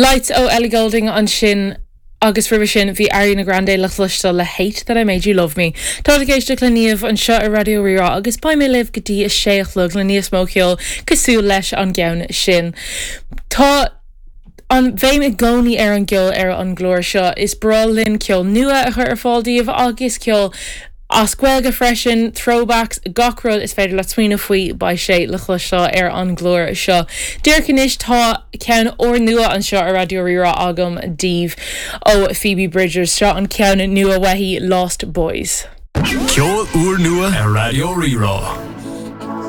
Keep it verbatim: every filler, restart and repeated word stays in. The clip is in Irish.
Lights ó Ellie Goulding ansin agus roimhe sin bhí Ariana Grande le cloisteáil le Hate that I Made You Love Me. Tá ag éisteacht le Niamh anseo ar Raidió Rí-Rá agus beidh mé libh go dtí a sé a chlog le níos mó ceoil cosúil leis an gceann sin. Tá an bhéim i gcónaí ar an gceol ar an gclár seo is breá linn ceol nua a chur ar fáil daoibh agus ceol as Gaeilge freisin, throwbacks, gach rud is féidir le smaoineamh faoi beidh sé le cloisteáil ar an gclár seo. Díreach anois tá ceann úrnua anseo ar Raidió Rí-Rá agam daoibh ó Phoebe Bridgers seo an ceann nua uaithi Lost Boys. Ceol úrnua ar Raidió Rí-Rá.